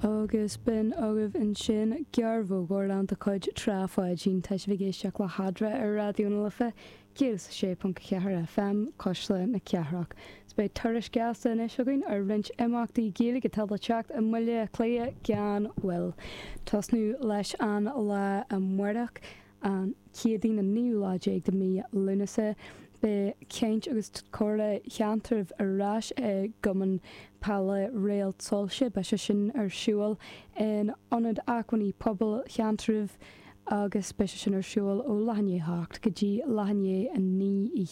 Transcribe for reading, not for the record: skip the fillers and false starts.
Agus b'in agaibh ansin gearrbhóg de chuid Trá Pháidín. Tá sibh ag éisteacht le hEadra ar Raidió na Life 106.4 FM, Cuisle na Cathrach. Is beidh tuairisc gasta anois againn ar roinnt imeachtaí Gaeilge atá le teacht i mBaile Átha Cliath gan mhoill. Tosnú leis an lá amárach. An Chéadaoin an naoú lá déag de mhí Lúnasa, beidh caint agus comhrá Sheantraibh ar ais i gCumann Peile Réalt Soilse. Beidh sé sin ar siúl in Ionad Acmhainní Pobail Sheantraibh agus beidh sé sin ar siúl ó leath i ndiaidh a hocht go dtí leath i ndiaidh a naoi.